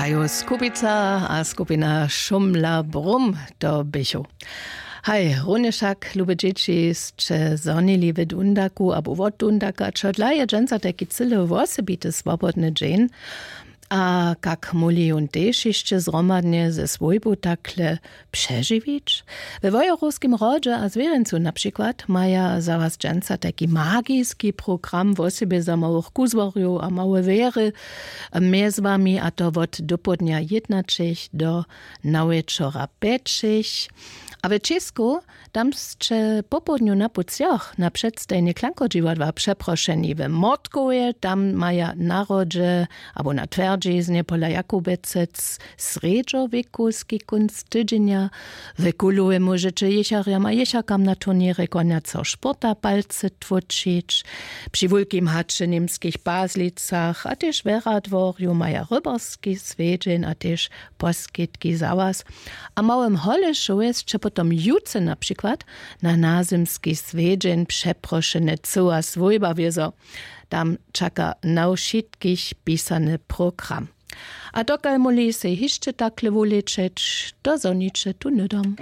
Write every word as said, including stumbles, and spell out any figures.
A jo, skupica a skupina šumla brum to běchu. Haj, runje wšak lube dźěći sće zhonili w dundaku abo wot dundaka, čodla je dźensa tajki cyle wosebity swobodny dźeń. A kak móhli jón tež hišće zhromadnje ze swójbu takle přežiwić? We wojerowskim hrodźe a zwěrjencu na přikład maja za was dźensa tajki magiski program wosebje za małych kuzłarjow a małe wjery, mjez wami a to wot dopołdnja jědnaćich do nawječora pjećich. A w čěsku tam sće popołdnju na pucjach na předstajnje klankodźiwadła přeprošeni w mordkowje, tam maja na hrodźe abo na twjerdźiznje pola jakubecec srjedźo wěkowski kónc tydźenja. W kulowej móžeće jěcharjam a jěcharkam na turněrje konjaceho sporta palcy tłóčić. Při wulkim haće w němskich pazlicach a tež we radworju maja rybarski swjedźeń a tež poskitki za was. A w małym holešowje sće potom jutře na přikład na nazymski swjedźeń přeprošene cyła swójba wězo. Tam čaka na wšitkich pisany program. A dokal móhli sej hišće takle wulečeć, to zhoniće tu hnydom.